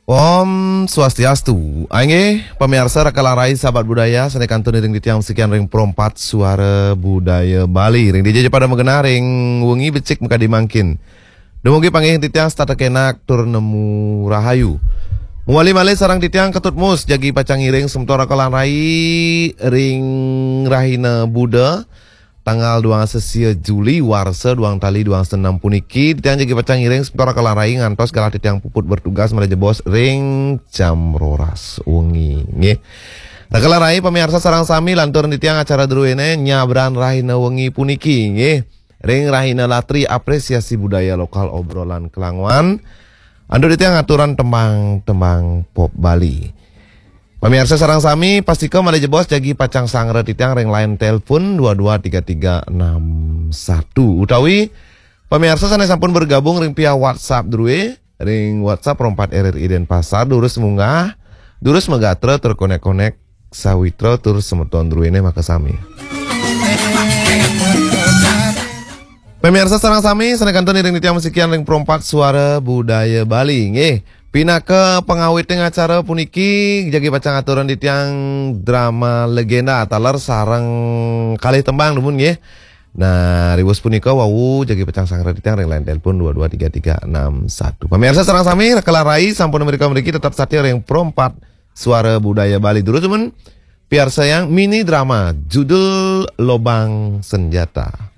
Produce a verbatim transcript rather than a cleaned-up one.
Om Swastiastu. Inggih, pamiarsa Raka lan Rai sahabat budaya, sané kantun iring titiang sikian ring Pro empat Suara Budaya Bali. Ring dija ja pada magenah ring wengi becik makadi mangkin. Dumugi panggih titiang setata kenak tur nemu rahayu. Mawali malih sareng titiang Ketut Mus, jagi pacang ngiring semeton Raka lan Rai ring rahina Buda, tanggal duang sisia Juli, warsa duang tali duang senem puniki, titiang jagi pacang ngiring semeton Raka lan Rai ngantos galah titiang puput bertugas malih jebos ring jam roras wengi, nggih. Raka lan Rai pamiarsa sareng sami, lantur titiang acara druéné nyabran rahina wengi puniki, nggih. Ring rahina Latri, apresiasi budaya lokal, obrolan kelanguan. Antuk titiang aturang tembang-tembang pop Bali. Pamiarsa sareng sami, pastika malih jebos jagi pacang sangra titiang ring line telepon dua dua tiga tiga enam satu. Utawi pamiarsa sané sampun bergabung ring via WhatsApp drué, ring WhatsApp Pro empat R R I Denpasar, durus munggah, durus magatra tur konek-konek sawitra tur semeton druéné makasami. Pamiarsa sareng sami, sané kantun iring titiang masikian ring Pro empat Suara Budaya Bali, nggih. Pinaka pangawitning acara puniki, jagi pacang aturang titiang drama legenda taler sareng kalih tembang dumun, nggih. Nah, riwus punika wau jagi pacang sangra titiang ring line telepon dua dua tiga tiga enam satu. Pamiarsa sareng sami, Raka lan Rai sampun mrika mriki tetep satia ring Pro empat Suara Budaya Bali. Durus dumun piarsayang mini drama judul Lobang Senjata.